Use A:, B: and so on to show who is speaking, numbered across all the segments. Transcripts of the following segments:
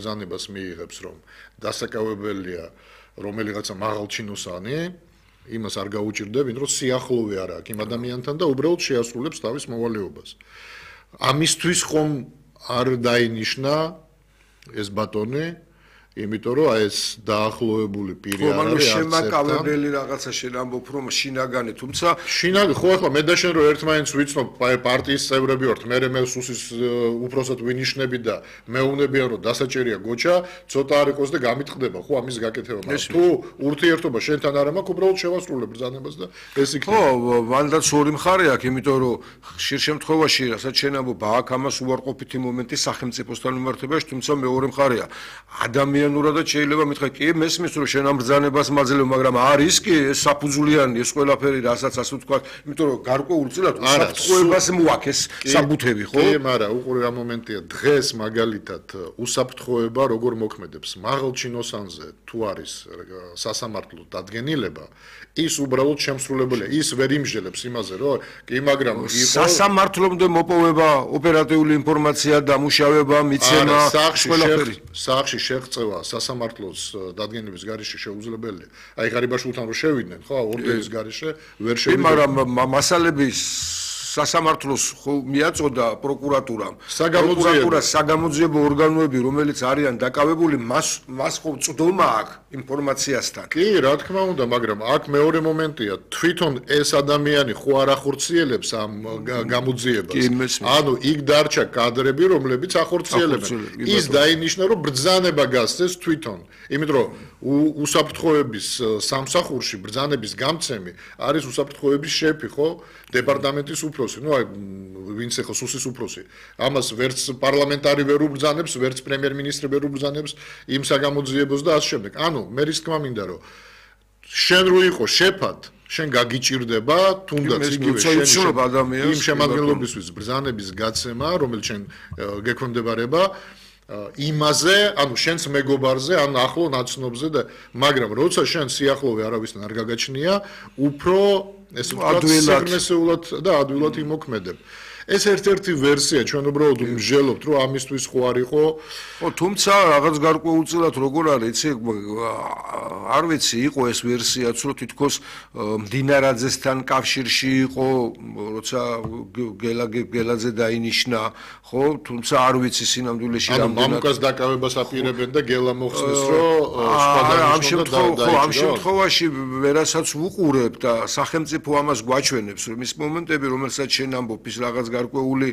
A: ბრძანებას მიიღებს, რომ დასაკავებელია რომელიღაცა მაღალჩინოსანი, იმას არ გაუჭირდება, ვინ რომ სიახლოვე არ აქვს იმ ადამიანთან და უბრალოდ შეასრულებს თავის მოვალეობას. ამისთვის ხომ არ დაინიშნა ეს ბატონი, იმიტომ რომ ეს დაახლოებული პირი არ არის
B: შემაკავებელი რაღაცა შენ ამბობ რომ შინაგანი, თუმცა
A: შინაგანი ხო ახლა მე და შენ რომ ერთმანეთს ვიცნობ პარტიის წევრები ვართ, მე სუსის უფროსად ვინიშნები და მეუბნებიან რომ დასაჭერია გოჩა, ცოტა არ იყოს და გამიტყდება ხო ამის გაკეთება, მაგრამ თუ ურთიერთობა შენთან არ მაქვს, უბრალოდ შევასრულებ ბრძანებას და ეს იქნება.
B: ხო, მანდაც ორი მხარე აქვს, იმიტომ რომ ხშირ შემთხვევაში, რასაც შენ ამბობ, აქ ამას უარყოფითი მომენტი სახელმწიფოსთან მიმართებაში, თუმცა მეორე მხარეა ადამიანურადაც შეიძლება მითხრა კი მესმის რომ შენ ამ ბრძანებას მაძლევ, მაგრამ არის კი ეს საფუძვლიანი ეს ყველაფერი რასაც ასე ვთქვათ, იმიტომ რომ გარკვეულწილად უსაფრთხოებას მოაქეს საბუთები, ხო?
A: კი, მაგრამ უყურე რა მომენტია, დღეს მაგალითად უსაფრთხოება როგორ მოქმედებს, მაღალჩინოსანზე თუ არის სასამართლო დადგენილება, ის უბრალოდ შემსრულებელია, ის ვერ იმსჯელებს იმაზე, რომ კი, მაგრამ
B: სასამართლომდე მოპოვება, ოპერატიული ინფორმაცია, დამუშავება, მიცემა, ყველაფერი.
A: სახში შეღწევა სასამართლოს დადგენილების გარეშე შეუძლებელია. აი ღარიბაშვილთან რომ შევიდნენ, ხო, ორდენის გარეშე ვერ შევიდნენ.
B: მაგრამ მასალების სასამართლოს ხო მიაწოდა პროკურატურამ. პროკურატურა საგამოძიებო ორგანოები, რომელიც არიან დაკავებული, მას ხო წვდომა აქვს ინფორმაციასთან.
A: კი, რა თქმა უნდა, მაგრამ აქ მეორე მომენტია, თვითონ ეს ადამიანი ხო არ ახორციელებს ამ გამოძიებას. ანუ იქ დარჩა კადრები, რომლებიც ახორციელებენ. ის დაინიშნა, რომ ბრძანება გასცეს თვითონ. იმიტომ რომ უსაფრთხოების სამსახურში ბრძანების გამცემი არის უსაფრთხოების შეფი, ხო? დეპარტამენტის უფროსი, ну აი ვინც ახლა სუსის უფროსი. ამას ვერც პარლამენტარი ვერ უბრძანებს, ვერც პრემიერ-მინისტრი ვერ უბრძანებს იმ საგამოძიებოს და ასე შემდეგ. ანუ მე რის თქმა მინდა რომ შენ რო იყო შეფად, შენ გაგიჭირდება თუნდაც იგივე იმ შემადგენლობისთვის ბრძანების გაცემა, რომელიც შენ გექვემდებარება იმაზე, ანუ შენს მეგობარზე, ან ახლო ნაცნობზე და მაგრამ როცა შენ სიახლოვე არავისთან არ გაგაჩნია, უფრო ესე ვთქვათ, საგნესეულად და ადვილად იმოქმედებ. ეს ერთ-ერთი ვერსია, ჩვენ უბრალოდ ვმჟელობთ, რომ ამისთვის ხო არ იყო.
B: ხო, თუმცა რაღაც გარკვეულწილად როგორ არის, იცი, არ ვიცი, იყო ეს ვერსიაც, რომ თითქოს მდინარაძესთან კავშირში იყო, როცა გელაძე დაინიშნა, ხო, თუმცა არ ვიცი სინამდვილეში
A: რამდენად. ანუ მამუკას დაკავებას აპირებენ და გელა მოხსნეს, რომ სხვა დაინიშნა და
B: ამ შემთხვევაში ვერასაც ვუყურებ და სახელმწიფო ამას გვაჩვენებს, რომ ის მომენტები, რომელსაც შენ ამბობ, ის რაღაც გარკვეული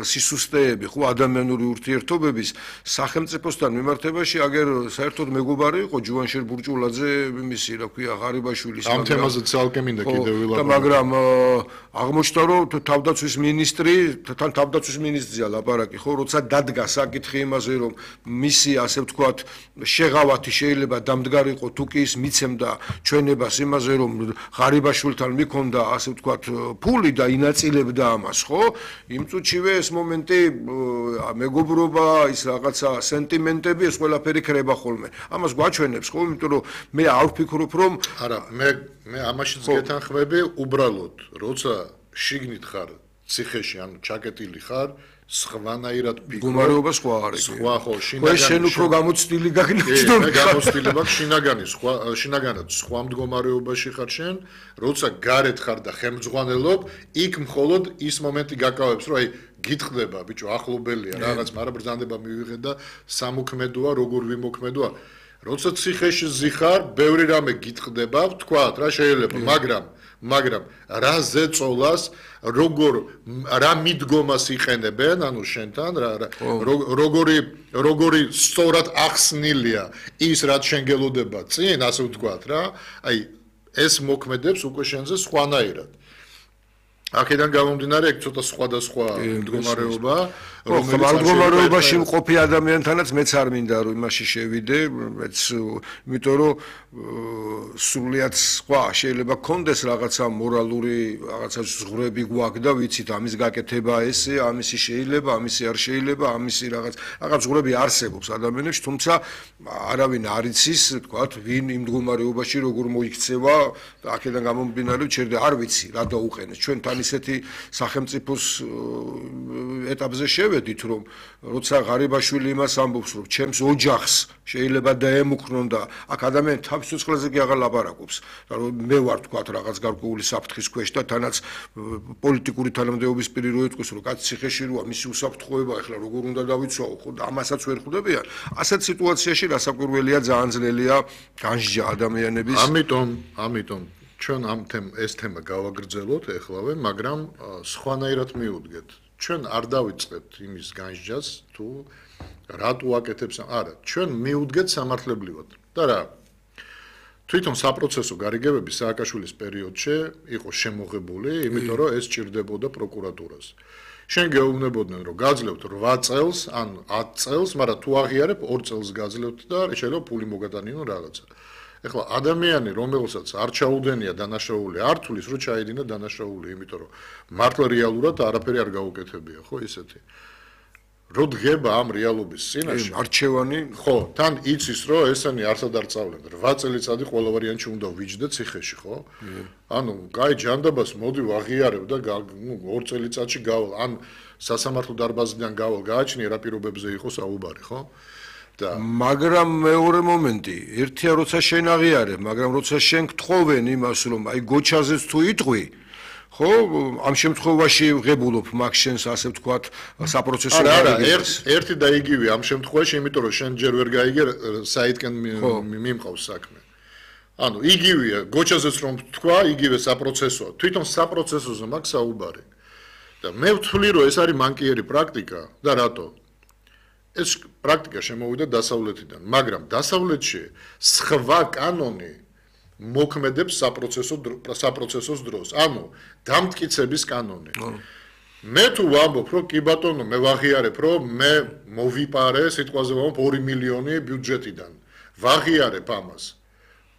B: სისუსტეები, ხო, ადამიანური ურთიერთობების სახელმწიფოსთან მიმართებაში აგერ საერთოდ მეგობარი იყო ჯუანშერ ბურჭულაძე, მისი, რა ქვია, ღარიბაშვილის.
A: ამ თემაზე ცალკე მინდა კიდევ ვილაპარაკო.
B: მაგრამ აღმოჩნდა, რომ თავდაცვის მინისტრი, თან თავდაცვის მინისტრია ლაპარაკი, ხო, როცა დადგა საკითხი იმაზე, რომ მისი, ასე ვთქვათ, შეღავათი შეიძლება დამდგარიყო, თუ კი ის მიცემდა ჩვენებას იმაზე, რომ ღარიბაშვილთან მიქონდა, ასე ვთქვათ, ფული და ინაწილებდა ამას, ხო? იმ წუთშივე ეს მომენტი მეგობრობა, ის რაღაცა სენტიმენტები, ეს ყველაფერი ქრება ხოლმე. ამას გვაჩვენებს, ხო? იმიტომ რომ მე არ ვფიქრობ, რომ
A: არა, მე ამაშიც გეთანხმები, უბრალოდ, როცა შიგნით ხარ, ციხეში, ანუ ჩაკეტილი ხარ, სხვანაირად ფიქრობ.
B: მდგომარეობა სხვა არის.
A: სხვა ხო, შინაგანი.
B: შენ უფრო გამოცდილი გაგნებს,
A: მე გამოცდილი მაქვს შინაგანი, შინაგანად სხვა მდგომარეობაში ხარ შენ, როცა გარეთ ხარ და ხელმძღვანელობ, იქ მხოლოდ ის მომენტი გაკავებს, რომ აი გიტყდება, ბიჭო, ახლობელია რაღაც, მაგრამ ბრძანება მივიღე და სამოქმედოა, როგორ ვიმოქმედოა. როცა ციხეში ზიხარ, ბევრი რამე გიტყდება, ვთქვათ, რა შეიძლება, მაგრამ რა ზეწოლას, რა მიდგომას იყენებენ, ანუ შენთან, როგორი სწორად ახსნილია ის, რაც შენ გელოდება წინ, ასე ვთქვათ რა, აი ეს მოქმედებს უკვე შენზე სხვანაირად. აქედან გამომდინარე, ეგ ცოტა სხვადასხვა მდგომარეობა,
B: მდგომარეობაში მყოფი ადამიანთანაც მეც არ მინდა რომ იმაში შევიდე, მეც იმიტომ რომ სრულიად სხვა შეიძლება გქონდეს რაღაცა მორალური, რაღაცა ზღვრები გვაქვს და ვიცით ამის გაკეთება ესე, ამისი შეიძლება, ამისი არ შეიძლება, ამისი რაღაც ზღვრები არსებობს ადამიანებში, თუმცა არავინ არ იცის, თქვათ, ვინ იმ მდგომარეობაში როგორ მოიქცევა, აქედან გამომდინარე, ჩერდა არ ვიცი რა დაუყენეს. ჩვენ თან ისეთი სახელმწიფოს ეტაპზე შევედი შევედით, რომ როცა ღარიბაშვილი იმას ამბობს, რომ ჩემს ოჯახს შეიძლება დაემუქრონ და აქ ადამიანი თავის სიცოცხლეზე კი აღარ ლაპარაკობს, რომ მე ვარ თქვათ რაღაც გარკვეული საფრთხის ქვეშ და თანაც პოლიტიკური თანამდებობის პირი რო ეთქვის, რომ კაცი ციხეში როა, მისი უსაფრთხოება ახლა როგორ უნდა დავიცვაო, ხო და ამასაც ვერ ხვდებიან. ასეთ სიტუაციაში რასაკვირველია ძალიან ძლელია განსჯა ადამიანების.
A: ამიტომ ჩვენ ეს თემა გავაგრძელოთ ეხლავე, მაგრამ სხვანაირად მივუდგეთ. ჩვენ არ დავიწყებთ იმის განსჯას თუ რატო აკეთებს, არა, ჩვენ მივუდგეთ სამართლებრივად. და რა? თვითონ საპროცესო გარიგებები სააკაშვილის პერიოდში იყო შემოღებული, იმიტომ რომ ეს ჭირდებოდა პროკურატურას. შენ გეუბნებოდნენ, რომ გაძლევთ 8 წელს ან 10 წელს, მაგრამ თუ აღიარებ 2 წელს გაძლევთ და შეიძლება ფული მოგატანინო რაღაცა. ეხლა ადამიანი, რომელსაც არ ჩაუდენია დანაშაული, არ თulis რომ ჩაიდინა დანაშაული, იმიტომ რომ მართლა რეალურად არაფერი არ გაუკეთებია, ხო ისეთი. რო დგება ამ რეალობის წინაშე,
B: არჩევანი,
A: ხო, თან იცის რომ ესენი არსად არ წავლენ. 8 წელიწადი ყველა ვარიანტში უნდა ვიჯდე ციხეში, ხო? ანუ, კაი ჯანდაბას მოდი ვაღიარებ და 2 წელიწადში გავალ, ან სასამართლო დარბაზიდან გავალ, გააჩნია რა პირობებზე იყო საუბარი, ხო?
B: მაგრამ მეორე მომენტი, ერთია როცა შენ აღიარებ, მაგრამ როცა შენ გთხოვენ იმას, რომ აი გოჩაზეც თუ იტყვი, ხო, ამ შემთხვევაში ღებულობ მაგ შენს ასე ვთქვათ, საპროცესო გარიგებას.
A: ერთი და იგივე ამ შემთხვევაში, იმიტომ რომ შენ ჯერ ვერ გაიგე საითკენ მიმყავს საქმე. ანუ იგივეა, გოჩაზეც რომ თქვა, იგივე საპროცესოა. თვითონ საპროცესოზე მაქვს საუბარი. და მე ვთვლი, რომ ეს არის მანკიერი პრაქტიკა და რატო? ეს პრაქტიკა შემოვიდა დასავლეთიდან, მაგრამ დასავლეთში სხვა კანონი მოქმედებს საპროცესოს დროს, ანუ დამტკიცების კანონი. მე თუ ვამბობ, რომ კი ბატონო, მე ვაღიარებ, რომ მე მოვიპარე, სიტყვაზე ვამბობ 2 მილიონი ბიუჯეტიდან. ვაღიარებ ამას.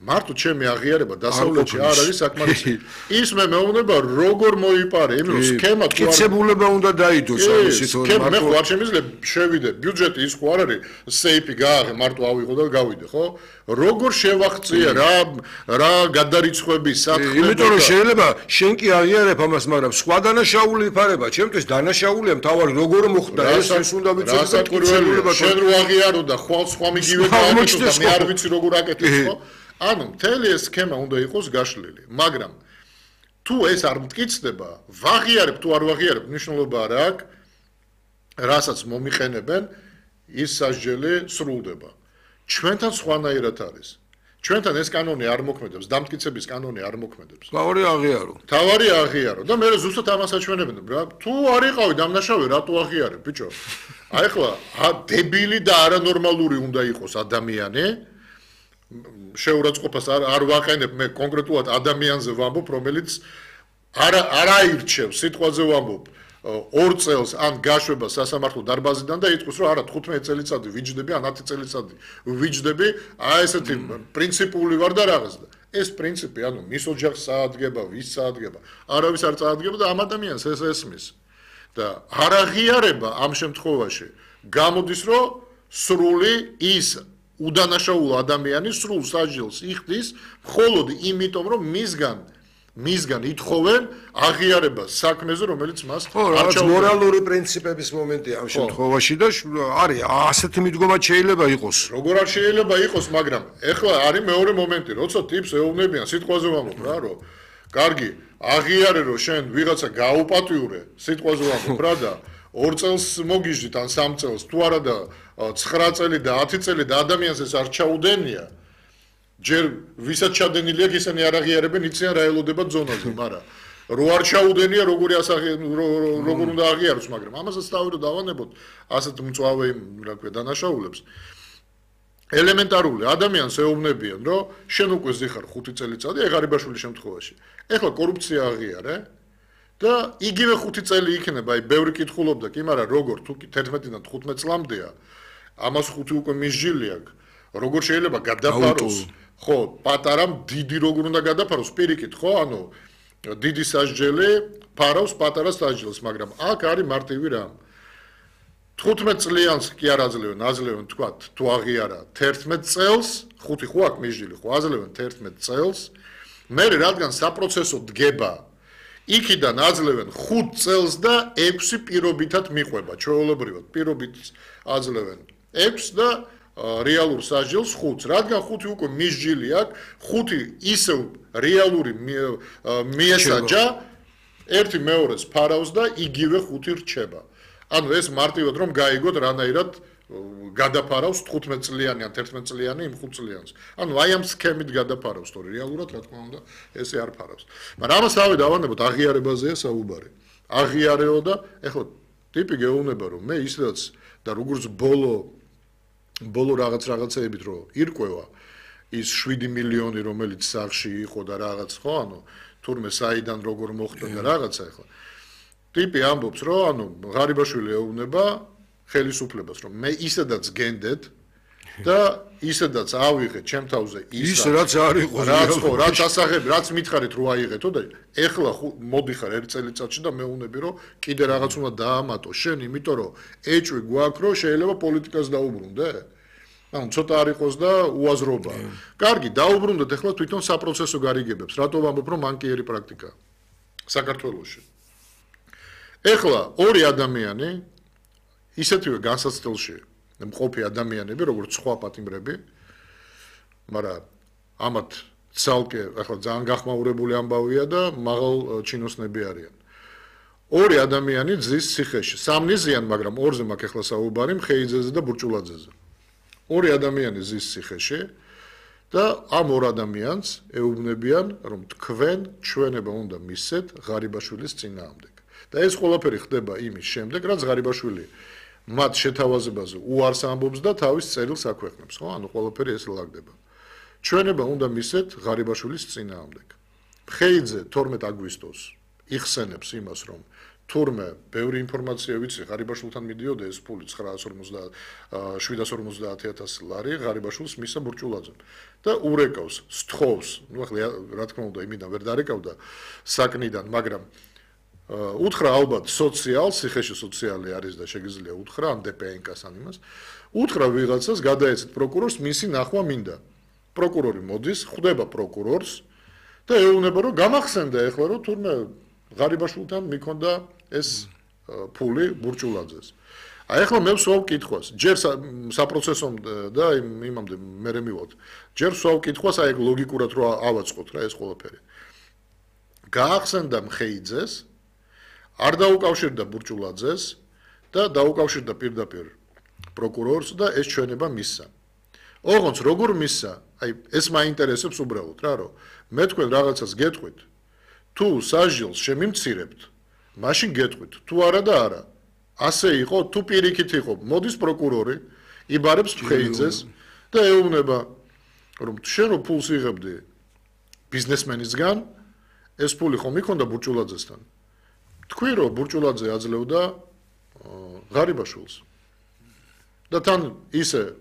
A: მარტო ჩემი აღიარება დასავლეთში არ არის საკმარისი. ის მე მეუბნება როგორ მოიპარე, იმ რომ სქემა თუ არ
B: კიცებულება უნდა დაიდოს ამისით,
A: მე ხო არ შემიძლია შევიდე, ბიუჯეტი ის ხო არ არის, სეიფი გააღე, მარტო ავიღო და გავიდე, ხო? როგორ შევახწია რა გადარიცხვები სათხე.
B: იმიტომ რომ შეიძლება შენ კი აღიარებ ამას, მაგრამ სხვა დანაშაული იფარება, ჩემთვის დანაშაულია მთავარი როგორ მოხდა ეს უნდა ვიცოდე და კიცებულება
A: შენ რო აღიარო და სხვა მიგივე გააკეთო და მე არ ვიცი როგორ აკეთებს, ხო? ანუ მთელი ეს სქემა უნდა იყოს გაშლილი, მაგრამ თუ ეს არ მტკიცდება, ვაღიარებ თუ არ ვაღიარებ, მნიშვნელობა არ აქვს, რასაც მომიყენებენ, ის სასჯელი სრულდება. ჩვენთან სხვანაირად არის. ჩვენთან ეს კანონი არ მოქმედებს, დამტკიცების კანონი არ მოქმედებს.
B: თავარი აღიარო.
A: თავარი აღიარო და მე ზუსტად ამას აჩვენებენ, რა, თუ არ იყავი დამნაშავე, რატო აღიარებ, ბიჭო? აი ახლა დებილი და არანორმალური უნდა იყოს ადამიანი. შეურაცხყოფას არ ვაყენებ, მე კონკრეტულად ადამიანზე ვამბობ, რომელიც არ აირჩევს, სიტყვაზე ვამბობ 2 წელს ან გაშვება სასამართლო დარბაზიდან და იტყვის, რომ არა 15 წელიწადი ვიჯდები, ან 10 წელიწადი ვიჯდები, აი ესეთი პრინციპული ვარ და რაღაც და ეს პრინციპი, ანუ მის ოჯახს წაადგება, ვის წაადგება, არავის არ წაადგება და ამ ადამიანს ეს ესმის. და არ აღიარება ამ შემთხვევაში გამოდის, რომ სრული ის უდანაშაულო ადამიანი სრულ სასჯელს იხდის, მხოლოდ იმიტომ, რომ მისგან ითხოვენ აღიარებას საქმეზე, რომელიც მას
B: არ ჩაუდგა. მორალური პრინციპების მომენტია ამ შემთხვევაში და არის ასეთი მიდგომა შეიძლება იყოს.
A: როგორ არ შეიძლება იყოს, მაგრამ ეხლა არის მეორე მომენტი, როცა ტიპს ეუბნებიან, სიტყვაზე ვამბობ რა, რომ კარგი, აღიარე, რომ შენ ვიღაცა გაუპატიურე, სიტყვაზე ვამბობ რა და 2 წელს მოგიჟდით ან 3 წელს, თუ არა და 9 წელი და 10 წელი და ადამიანს ეს არ ჩაუდენია, ჯერ ვისაც ჩადენილი აქვს, ისინი არ აღიარებენ, იციან რა ელოდება ზონაზე, მაგრამ რო არ ჩაუდენია, როგორ უნდა აღიაროს, მაგრამ ამასაც თავი რომ დავანებოთ, ასეთ მწვავე, რა ქვია, დანაშაულებს. ელემენტარული ადამიანს ეუბნებიან, რომ შენ უკვე ზიხარ 5 წელიწადი, ღარიბაშვილის შემთხვევაში. ეხლა კორუფცია აღიარე და იგივე 5 წელი იქნება, აი ბევრი კითხულობდა კი, მაგრამ როგორ თუ 11-დან 15 წლამდეა, ამას 5 უკვე მისჯილი აქვს. როგორ შეიძლება გადაფაროს? ხო, პატარამ დიდი როგორ უნდა გადაფაროს პირიქით, ხო? ანუ დიდი სასჯელი ფარავს პატარა სასჯელს, მაგრამ აქ არის მარტივი რამ. 15 წლიანს კი არ აძლევენ, თქვათ, თუ აღიარა 11 წელს, 5 ხო აქვს მისჯილი, ხო, აძლევენ 11 წელს. მე რადგან საპროცესო დგება იქიდან აძლევენ 5 წელს და 6 პირობითად მიყვება, ჩვეულებრივად. პირობით აძლევენ 6 და რეალურ სასჯელს 5. რადგან 5 უკვე მისჯილი აქვს, 5 ისევ რეალური მიესაჯა ერთი მეორეს ფარავს და იგივე 5 რჩება. ანუ ეს მარტივად რომ გაიგოთ რანაირად გადაფარავს 15 წლიანი ან 11 წლიანი იმ 5 წლიანს. ანუ აი ამ სქემით გადაფარავს, თორე რეალურად რა თქმა უნდა ესე არ ფარავს. მაგრამ ამას თავი დავანებოთ აღიარებაზეა საუბარი. აღიარეო და ეხლა ტიპი გეუბნება რომ მე ისედაც და როგორც ბოლო რაღაცეებით რომ ირკვევა ის 7 მილიონი რომელიც სახში იყო და რაღაც ხო ანუ თურმე საიდან როგორ მოხდა და რაღაცა ეხლა ტიპი ამბობს რომ ანუ ღარიბაშვილი ეუბნება ხელისუფლებას რომ მე ისედაც გენდეთ და ისედაც ავიღეთ ჩემ თავზე
B: ის რაც არ იყო
A: რაც ასაღები რაც მითხარით რო აიღეთო და ეხლა მოდიხარ ერთ წელიწადში და მეუბნები რომ კიდე რაღაც უნდა დაამატო შენ იმიტომ რომ ეჭვი გვაქვს რომ შეიძლება პოლიტიკას დაუბრუნდე ანუ ცოტა არ იყოს და უაზრობა კარგი დაუბრუნდეთ ეხლა თვითონ საპროცესო გარიგებებს რატო ვამბობ რომ მანკიერი პრაქტიკაა საქართველოში ეხლა ორი ადამიანი ისეთივე განსაცდელში მყოფი ადამიანები როგორც სხვა პატიმრები მაგრამ ამათ ცალკე ახლა ძალიან გახმაურებული ამბავია და მაღალ ჩინოსნები არიან ორი ადამიანი ძის ციხეში სამნი ზიან მაგრამ ორზე მაქვს ახლა საუბარი მხეიძეზე და ბურჭულაძეზე ორი ადამიანი ზის ციხეში და ამ ორ ადამიანს ეუბნებიან რომ თქვენ ჩვენება უნდა მისცეთ ღარიბაშვილის წინააღმდეგ და ეს ყველაფერი ხდება იმის შემდეგ რაც ღარიბაშვილი მათ შეთავაზებაზე უარს ამბობს და თავის წერილს აქვეყნებს, ხო? ანუ ყველაფერი ეს ლაგდება. ჩვენება უნდა მისცეთ ღარიბაშვილის წინააღმდეგ. მხეიძე 12 აგვისტოს იხსენებს იმას, რომ თურმე ბევრი ინფორმაცია ვიცი, ღარიბაშვილთან მიდიოდა ეს ფული 750.000 ლარი ღარიბაშვილს მისცა ბურჭულაძემ და ურეკავს, სთხოვს, ნუ ახლა რა თქმა უნდა იმიდან ვერ დარეკავდა საკნიდან, მაგრამ უთხრა ალბათ სოციალს, ციხეში სოციალი არის და შეგიძლია უთხრა ამ დპნკ-ს ან იმას. უთხრა ვიღაცას გადაეცეთ პროკურორს, მისი ნახვა მინდა. პროკურორი მოდის, ხვდება პროკურორს და ეუბნება რომ გამახსენდა ეხლა რომ თურმე ღარიბაშვილთან მიქონდა ეს ფული ბურჭულაძეს. აი ეხლა მე ვსვავ კითხვას, ჯერ საპროცესომ და იმამდე მე მივოთ. ჯერ ვსვავ კითხვას, აი ლოგიკურად რო ავაწყოთ რა ეს ყველაფერი. გაახსენდა მხეიძეს არ დაუკავშირდა ბურჭულაძეს და დაუკავშირდა პირდაპირ პროკურორს და ეს ჩვენება მისცა. ოღონდ როგორ მისცა? აი ეს მაინტერესებს უბრალოდ რა რომ მე თქვენ რაღაცას გეტყვით თუ სასჯელს შემიმცირებთ მაშინ გეტყვით თუ არა და არა ასე იყო თუ პირიქით იყო მოდის პროკურორი იბარებს მხეიძეს და ეუბნება რომ შენ რო ფულს იღებდი ბიზნესმენისგან ეს ფული ხომ იქონდა ბურჭულაძესთან თქვი რომ ბურჭულაძე აძლევდა ღარიბაშვილს და თან ისე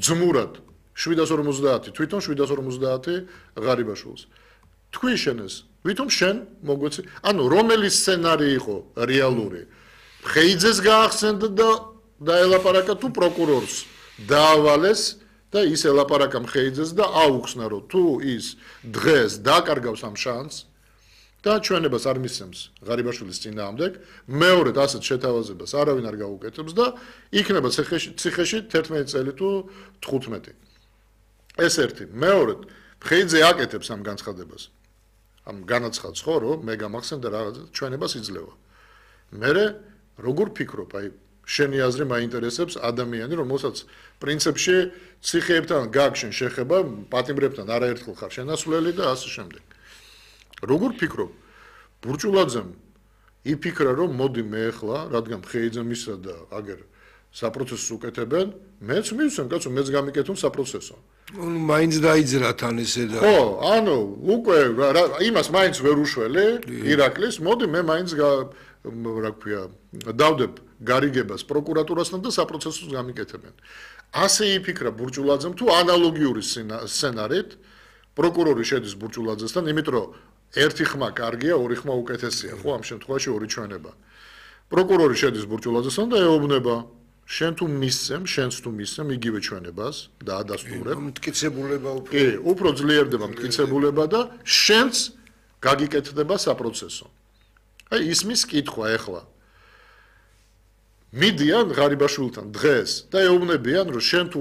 A: ძმურად 750 თვითონ 750 ღარიბაშვილს თქვი შენ ეს ვითომ შენ მოგვეცი ანუ რომელი სცენარი იყო რეალური მხეიძეს გაახსენდა და დაელაპარაკა თუ პროკურორს დაავალეს და ის ელაპარაკა მხეიძეს და აუხსნა რომ თუ ის დღეს დაკარგავს ამ შანსს და ჩვენებას არ მისცემს ღარიბაშვილის წინააღმდეგ მეორედ ასეთ შეთავაზებას არავინ არ გაუკეთებს და იქნება ციხეში 11 წელი თუ 15 ეს ერთი მეორედ მხეიძე აკეთებს ამ განცხადებას ამ განაცხადს ხო რომ მე გამახსენდა რაღაცა ჩვენებას იძლევა მე როგორ ფიქრობ აი შენი აზრი მაინტერესებს ადამიანი რომელსაც პრინციპში ციხეებთან გაგშენ შეხება პატიმრებთან არაერთხელ ხარ შენასვლელი და ასე შემდეგ როგორ ფიქრობ ბურჭულაძემ იფიქრა რომ მოდი მე ახლა რადგან მხეიძემ ისა და აგერ საპროცესოს უკეთებენ მეც მივცემ კაცო მეც გამიკეთო საპროცესო
B: ну მაინც დაიძრა თან ესე და
A: ხო ანუ უკვე იმას მაინც ვერ უშველე ირაკლის მოდი მე მაინც რა ქვია დავდებ გარიგებას პროკურატურასთან და საპროცესოს გამიკეთებენ ასე იფიქრა ბურჭულაძემ თუ ანალოგიური სცენარით პროკურორი შედის ბურჭულაძესთან იმიტომ რომ ერთი ხმა კარგია ორი ხმა უკეთესია ხო ამ შემთხვევაში ორი ჩვენება პროკურორი შედის ბურჭულაძესთან და ეუბნება შენ თუ მისცემ შენს თუ მისცემ იგივე ჩვენებას და ადასტურებ
B: მტკიცებულება
A: უფრო ძლიერდება მტკიცებულება და შენს გაგიკეთდება საპროცესო. აი ისმის კითხვა ეხლა. მიდიან ღარიბაშვილთან დღეს და ეუბნებიან, რომ შენ თუ